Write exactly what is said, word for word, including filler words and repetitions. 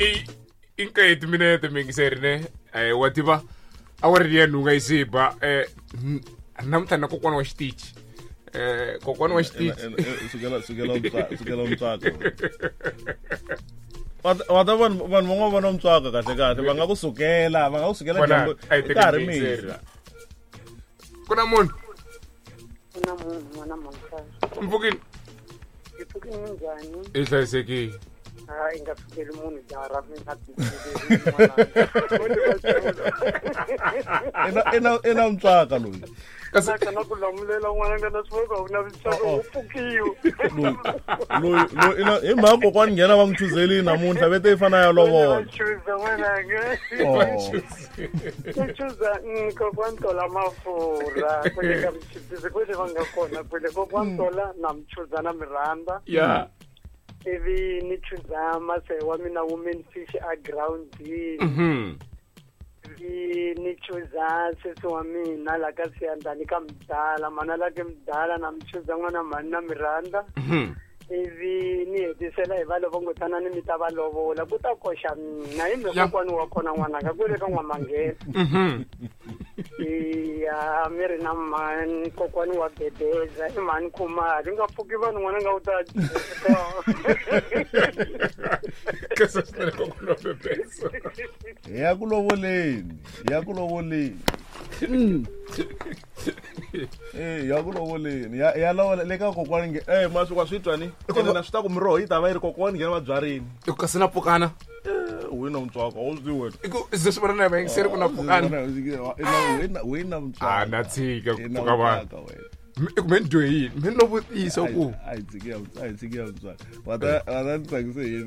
i i nkaye timinete mingiseri ne eh wa tiva awara ya nhunga yi se ba eh namuntlha na kokwana wa xitichi eh kokwana wa xitichi sukela sukela sukela mutswaka wa ta vanhu vanhu van'wana va na mutswaka kahle kahle va nga ku sukela va nga ku sukela dyambu ka ha ri mixo ku na munhu ku na munhu n'wana mhaka mpfukini hi pfukini njhani i hlayisekile a i nga sukeli munhu jaha ra mina ina ina mutswaka loyi kasi na ku lamulela n'wana nga na swi va na mutswaka wu pfukiwe loyi loyi loyi ina hi mhaka kokwani nghena va n'wi chuzeli namuntlha vete yi fana ya lovola chuza n'wananga ku chuza kokwani tola mafurha kwele ka mchipisi kwele va nga kona kwele kokwani tola na mchuza na mirhanda ya ivi ni chuza mase wa mina women fish a groundini mhm ivi ni chuza sesi wa mina la ka siyandani ka mdala mana la ke mdala na mchuza n'wana mhani na mirhanda mhm ivi ni hetisela hi va lovongotana ni mi ta va lovola ku ta koxa mina hi mhe kokwani wa kona n'wanaka kwele ka n'wamanghena mhm iya mi ri na mhani kokwani wa bebeza i mhani khumali nga pfuki vanhu n'wana nga u ta kasi swinene kokwani wa bebeza hi ya ku lovoleni hi ya ku lovoleni eh ya ku lovoleni ya ya lovola le ka kokwani nge eh ma swi wa swi twa ni ene na swi ta ku miroho yi ta va yi ri kokwani nghena va byarini i ku kasi na pfukana wena mutswaka wu swi wena i ku ze swi vona na vayingiseri ku na pfukana wena wena mutswaka a na tshika ku pfuka vanhu i ku me ni dyohile me ni lo vutisa ku a hi tshiki ya a hi tshiki ya mutswaka wa ta wa ta ni tsakise yini